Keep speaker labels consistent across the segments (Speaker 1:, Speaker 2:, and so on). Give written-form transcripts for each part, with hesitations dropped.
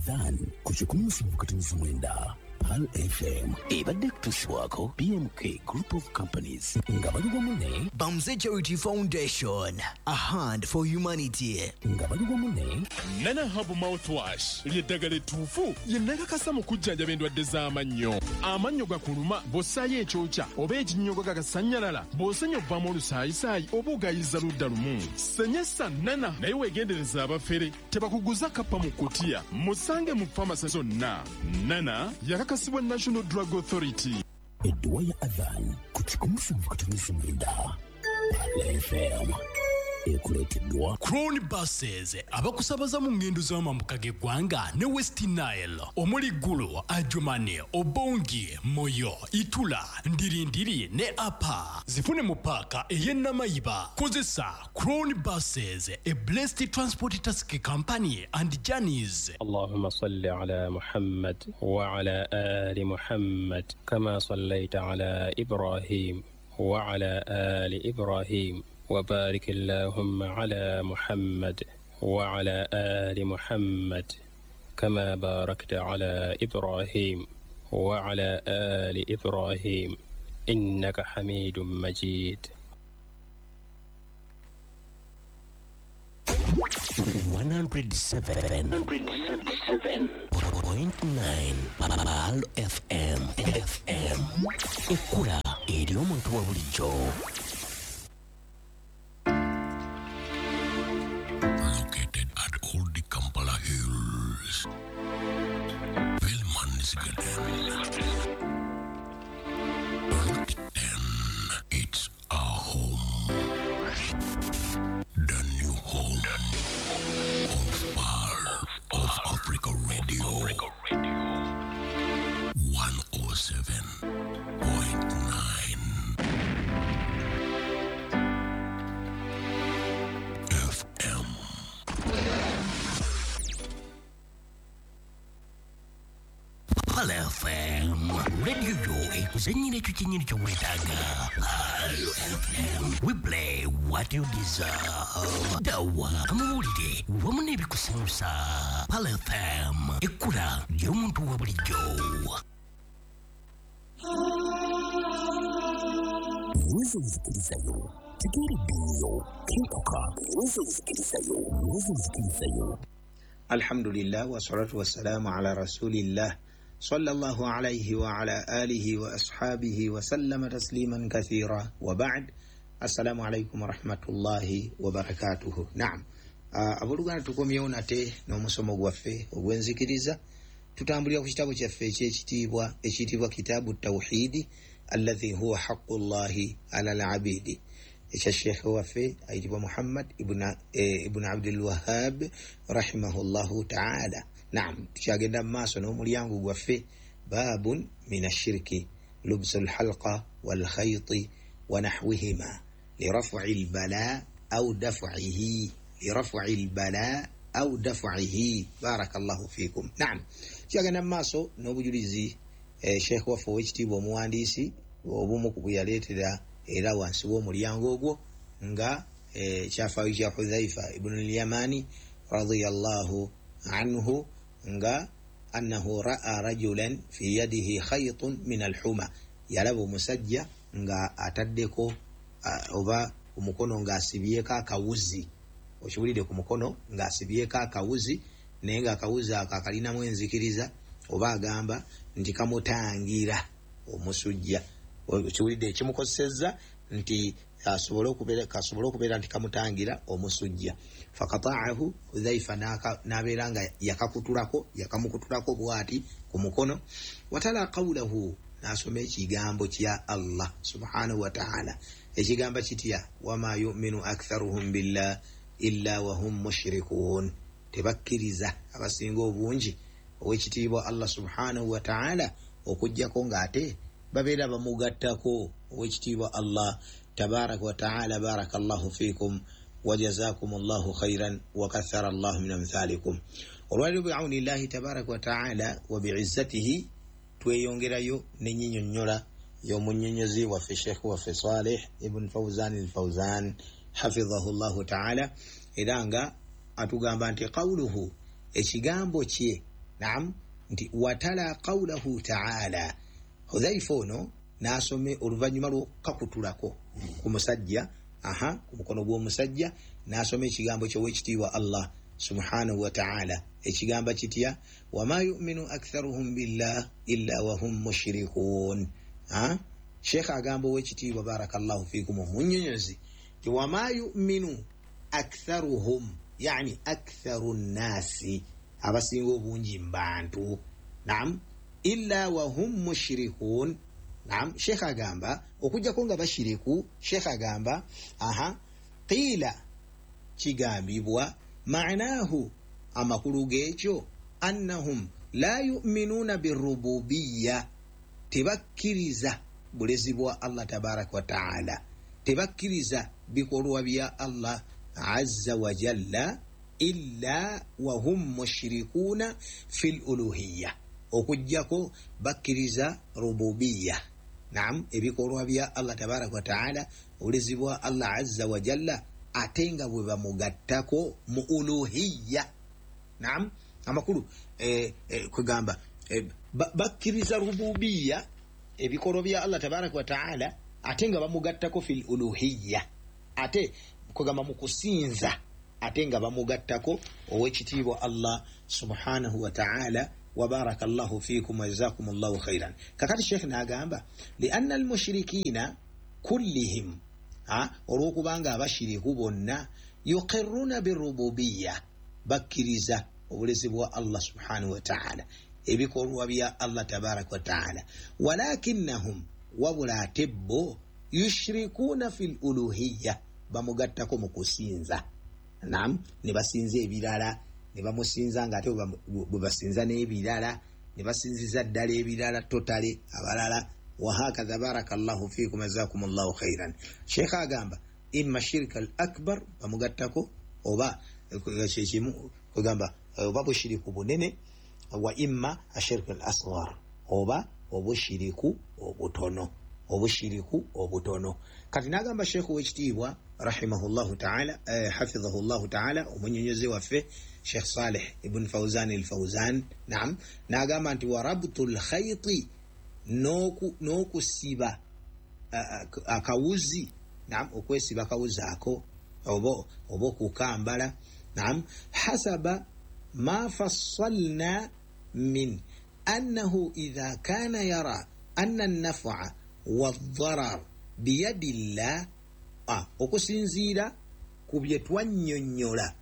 Speaker 1: Adhan ku 179 Pearl FM ebadde kutuusibwako BMK Group of Companies nga bali wamu ne
Speaker 2: Bamze Charity Foundation, a hand for humanity.
Speaker 1: Nga bali wamu ne
Speaker 3: Nana Herbal Mouthwash ly'eddagala ettuufu ye nakakasa mu kujjanjaba endwadde z'amannyo. Amannyo gakuluma bw'ossaayo ekyokya oba ekinnyogo gagasannyalala, bw'osenya ovaamu olusaayisaayi oba ogayiza ludda lumu. Senyesa Nana, naye weegendereza abafere tebakuguza kappa mu kutiya. Musange mu famasi zonna. Nana yakakasibwa National Drug Authority.
Speaker 1: Edduwa ya Adhan ku 179 Pearl FM ekuleeteddwa
Speaker 4: Crown Buses abakusabaza mu ngendo z'amambuka g'eggwanga ne West Nile omuli Gulu, Adjumani, Obongi, Moyo, Itula, Ndirindiri ne Apa. Zifune mu paaka ey'e Namayiba. Kozesa Crown Buses, a blessed transport taxi company and journeys.
Speaker 5: اللهم صل على محمد وعلى آل محمد كما صليت على إبراهيم وعلى آل إبراهيم وبارك اللهم على محمد وعلى آل محمد كما باركت على إبراهيم وعلى آل إبراهيم إنك حميد مجيد.
Speaker 1: 107.9 Pearl FM FM ekkula eri omuntu wa bulijjo.
Speaker 6: Located at Old Kampala Hills, Velman's Garden. Route 10, it's our home. The new home of Pearl of Africa Radio. 107.9 FM.
Speaker 1: Pearl FM radio yo ekuzannyira ekyo kyennyini ky'oweetaaga. Pearl FM, we play what you deserve. Dawa amawulire wamu n'ebikusanyusa. Pearl FM ekkula ly'omuntu wa bulijjo. Nyweza enzikirizayo, tegeera eddiini yo, kenkuka. Nyweza enzikirizayo, nyweza enzikirizayo.
Speaker 7: Alhamdulillah wassalatu wassalamu ala rasulillah sallallahu alayhi wa ala alihi wa ashabihi wa sallama tasliman kathira wa ba'd. Assalamu alaikum wa rahmatullahi wa barakatuhu. Naam, abooluganda tukomyewo nate n'omusomo gwaffe ogw'enzikiriza. Tutambulira ku kitabo kyaffe ekyekitiibwa ekiyitibwa Kitaabu Tawhidi alladhi huwa haqqullahi ala al-abidi, ekya sheekhe waffe ayitibwa Muhammad ibn Abdul Wahhab rahimahullahu taala. Naam, tukyagenda mu maaso n'omulyango gwaffe babun min ashirki lubsu lhalqa walkhayti wa nahwihima liraf'i lbala au daf'ihi, liraf'i lbala au daf'ihi. Barakallahu fikum. Naam, tukyagenda mu maaso n'obujulizi sheekhe waffe ow'ekitiibwa omuwandiisi obumu ku bwe yaleetera era wansi w'omulyango ogwo nga kyafaayo kya Hudhaifa ibn al-Yamani radiyallahu anhu nga annahu ra'a rajulan fi yadihi khaytun min alhuma, yalaba omusajja nga ataddeko oba omukono ng'asibyeko akawuzi. Okiwulidde, ku mukono ng'asibyeko akawuzi, naye ng'akawuzi ako akalinamu enzikiriza oba agamba nti kamutangira omusujja. Okiwulidde, ekimukozesezza nti asobole okubeera nti kamutangira omusujja. Fakataahu Hudhaifa n'abeera nga yakakutulako, yakamukutulako bw'ati ku mukono. Watala qawlahu, n'asoma ekigambo kya Allah subhanahu wa ta'ala, ekigamba kitya? Wama yuminu aktharuhum billah illa wahum mushrikuun, tebakkiriza abasinga obungi owekitiibwa Allah subhanahu wa ta'ala okuggyako ng'ate babeera bamugattako owekitiibwa Allah tabaraka wa ta'ala. Barakallahu fikum wa jazakumullahu khairan wa kathara Allahu min amthalikum. Olwaliro biaunillahi tabaraka wa ta'ala wa biizzatihi tweyongerayo n'ennyinyonnyola y'omunnyonnyozi waffe Sheikh waffe Saleh ibn Fawzan al-Fawzan hafidhahu Llahu ta'ala, era nga atugamba nti qawluhu, ekigambo kye Naam, nti watala qawlahu taala. Hudhaifa ono n'asome oluvannyuma lw'okukakutulako ku musajja, aha, ku mukono gw'omusajja, n'asoma ekigambo ky'Oweekitiibwa Allah subhanahu wa taala, ekigamba kitya? Wama yuminu aktharuhum billah illa wahum mushrikun. Sheekh agamba Owekitiibwa, barakallahu fikum, omunyonyozi ti wama yuminu aktharuhum, yani aktharu nnasi, abasinga obungi mu bantu, nam, illa wahum mushrikun. Nam, sheekh agamba okujjako nga bashiriku. Sheekh agamba, aha, qiila, kigambibwa, manahu, amakulu g'ekyo, annahum la yuminuuna birububiya, tebakkiriza bulezi bwa Allah tabaraka wataala, tebakkiriza bikolwa bya Allah azza wa jalla, illa wahum mushrikuuna fi luluhiya, okujjako bakkiriza rububiya, nam, ebikolwa bya Allah tabaraka wataala, obulezi bwa Allah azza wa jalla, ate nga bwe bamugattako mu uluhiya. Nam, amakulu kwegamba bakkiriza rububiya, ebikolwa bya Allah tabaraka wataala, ate nga bamugattako fil uluhiya, ate kwegamba mu kusinza, ate nga bamugattako Owekitiibwa Allah subhanahu wataala. Wabaraka llahu fikum wajazakum llahu khairan. Kakati sheekh n'agamba lianna almushirikina kullihim, olwokubanga abashiriku bonna, yuqiruna birububiya, bakkiriza obulezi bwa Allah subhanahu wataala, ebikolwa bya Allah tabaraka wataala, walakinnahum, wabula ate bo, yushrikuuna fi luluhiya, bamugattako mu kusinza. Nam, ne basinza ebirala, ne bamusinza nga ate bwe basinza n'ebirala, ne basinziza ddala ebirala totale abalala, wahakadha. Baraka llahu fikum, jazakum llahu khairan. Sheekh agamba imma shirika al akbar, bamugattako, oba kyekimu kwegamba oba bushiriku bunene, wa imma ashirika al asghar, oba obushiriku obutono, obushiriku obutono. Kati nagamba sheekh wekitiibwa rahimahullahu taala, hafidhahu llahu taala, omunyonyozi waffe Sheikh Saleh ibn Fauzan al Fauzan, naam, nagamba nti warabtu lkhaiti, n'okusiba akawuzi, naam, okwesiba akawuzi ako oba okukambala, naam, hasaba ma fassalna min annahu idha kana yara anna an-naf'a wad-darar biyadillah, okusinziira ku bye twannyonnyola,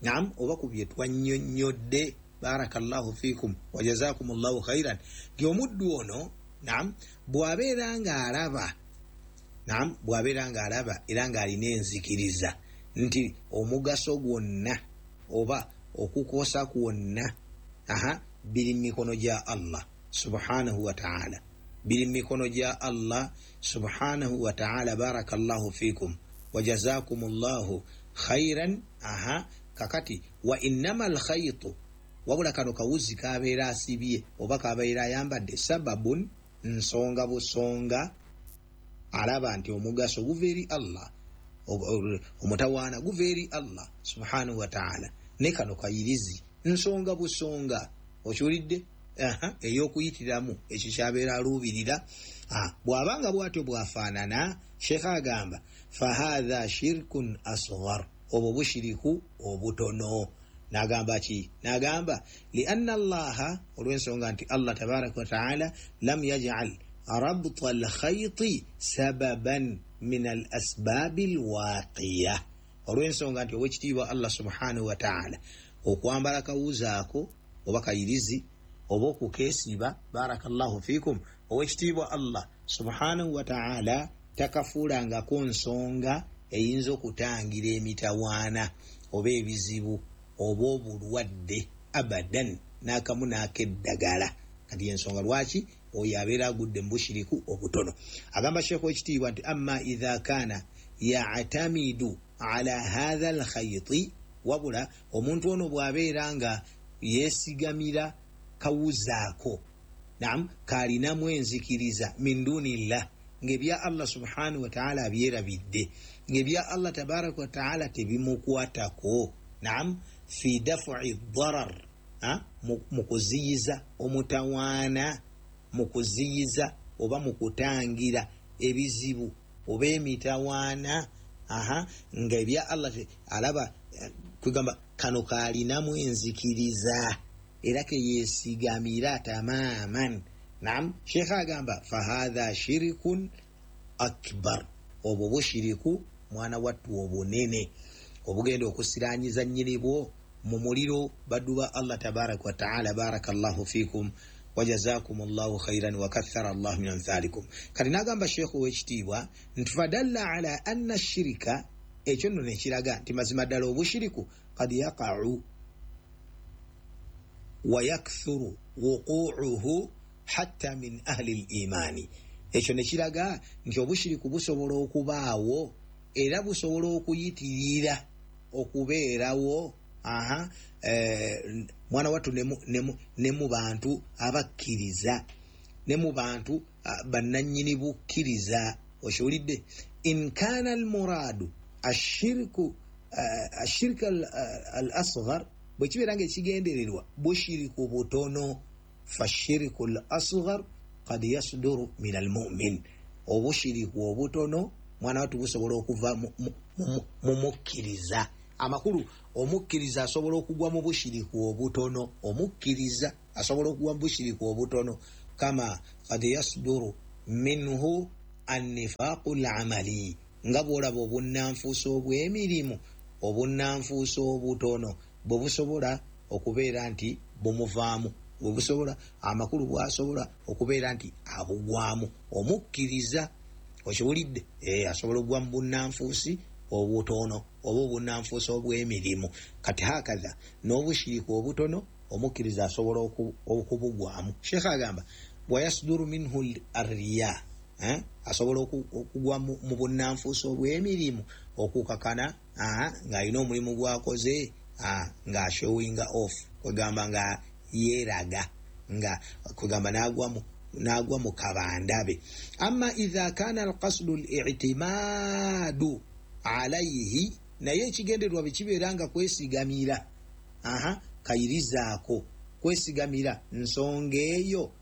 Speaker 7: naam, oba ku bye twannyonnyodde, barakallahu fikum wajazakum llahu khairan, nti omuddu ono, naam, bw'abeera ng'alaba, naam, bw'abeera ng'alaba era ng'alina enzikiriza nti omugaso gwonna oba okukosa kwonna, aha, biri mu mikono gya Allah subhanahu wataala, biri mu mikono gya Allah subhanahu wataala, barakallahu fikum wajazakum llahu khairan. Aha, kakati wa innama alkhaitu, wabula kano kawuzi kabeera asibye oba kabeera ayambadde, sababun, nsonga busonga, alaba nti omugaso guva eri Allah, omutawaana guva eri Allah subhanahu wataala, ne kano kayirizi nsonga busonga, okiwulidde, ey'okuyitiramu ekyo kyabeera aluubirira. Bw'abanga bw'atyo bw'afaanana, sheekh agamba fahatha shirkun asghar, obwo bushiriku obutono. Nagamba ki? Nagamba lianna allaha, olw'ensonga nti Allah tabaraka wataala lam yajal rabta alkhaiti sababan min al asbabi alwaqiya, olw'ensonga nti Owekitiibwa Allah subhanahu wataala okwambala kawuzaako oba kayirizi oba okukeesiba, barakallahu fikum, Owekitiibwa Allah subhanahu wataala takafuulangako nsonga eyinza okutangira emitawaana oba ebizibu oba obulwadde abadan, n'akamu n'akeddagala. Kati ensonga lwaki oyo abeera agudde mu bushiriku obutono. Agamba sheekh wekitiibwa nti amma idha kana yatamidu ala hatha alkhaiti, wabula omuntu ono bw'abeera nga yeesigamira kawuzaako, naam, kalinamu enzikiriza min dunillah, ng'ebya Allah subhanahu wataala abyerabidde, ng'ebya Allah tabaraka wataala tebimukwatako, naam, fi dafui darar. mu kuziyiza omutawaana, mu kuziyiza oba mu kutangira ebizibu oba emitawaana, nga ebya Allah alaba kugamba kano kalinamu enzikiriza era keyesigamira tamaman. Naam, Sheikh agamba fahadha shirikun akbar, obwo bushiriku mwana wattu obunene obugenda okusiranyiza nnyini bwo mu muliro. Baddu ba Allah tabaraka wa taala, barakallahu fikum wajazakum llahu khairan wakathara llahu min amthalikum. Kati nagamba Sheikh owekitiibwa nti fadalla ala anna shirika, ekyo nno nekiraga nti mazima ddala obushiriku kad yaqau wa yakthuru wuquuhu hatta min ahli limani. Ekyo nekiraga nti obushiriku busobola okubaawo era busobola okuyitirira okubeerawo mwana wattu ne mu bantu abakkiriza, ne mu bantu bannannyini bukkiriza. Okiwulidde? In kana almuradu ashirku ashirika al asghar, bwe kibeera nga ekigendererwa bushiriku butono, fashiriku al asghar qad yasduru min almumin, obushiriku obutono mwana wattu busobola okuva mu mukkiriza. Amakulu, omukkiriza asobola okugwa mu bushiriku obutono, omukkiriza asobola okugwa mu bushiriku obutono, kama qad yasduru minhu annifaqu lamali, nga bwolaba obunnanfuusa obw'emirimu, obunnanfuusa obutono bwe busobola okubeera nti bumuvaamu, bwe busobola, amakulu bwasobola okubeera nti abugwamu omukkiriza. Okiwulidde? Asobola okugwa mu bunnanfuusi obutono oba obunnanfuusi obw'emirimu. Kati hakadha n'obushiriku obutono omukkiriza asobola okubugwamu. Sheekh agamba wayasduru minhu arriya, asobola okugwa mu bunnanfuusi obw'emirimu, okukakana ng'alina omulimu gwakoze ng'ashowinga off, kwegamba nga yeeraga, nga kwegamba n'agwa mu kabandabe. Amma idha kana alqasdu litimadu alaihi, naye ekigendererwa bwe kibeera nga kwesigamira, kayirizaako kwesigamira nsonga eyo,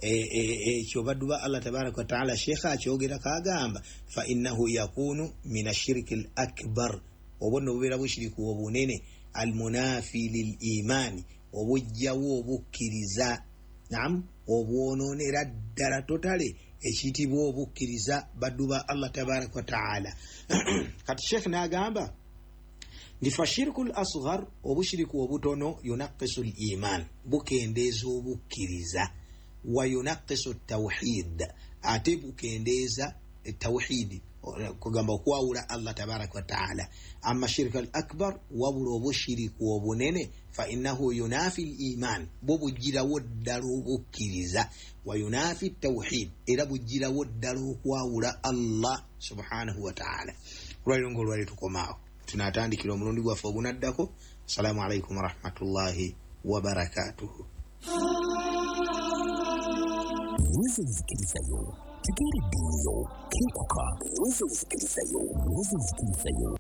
Speaker 7: ekyo baddu ba Allah tabaraka wataala. Sheekha akyogera kagamba fa innahu yakunu min ashiriki al akbar, obwo nno bubeera bushiriku obunene, almunafi lil imani, obujjawo obukkiriza, naam, obwononera ddala totale ekiyitibwa obukkiriza, baddu ba Allah tabaraka wataala. Kati sheekh n'agamba nti fashiriku l asghar, obushiriku obutono, yunaqisu l iman, bukendeeza obukkiriza, wa yunaqisu tawhid, ate bukendeeza tawhidi, kugamba okwawula Allah tabaraka wataala. Amma shirika al akbar, wabula obushiriku obunene, fa innahu yunafi l iman, bwo bugirawo ddala obukkiriza, wa yunafi tawhid, era bugirawo ddala okwawula Allah subhanahu wataala. Olwaliro nga olwali tukomaawo, tunatandikira omulundi gwaffe ogunaddako. Assalamu alaikum warahmatullahi wabarakatuhu.
Speaker 1: Nyweza enzikirizayo, tegeera eddiini yo, kenkuka. Nyweza enzikirizayo, nyweza enzikirizayo.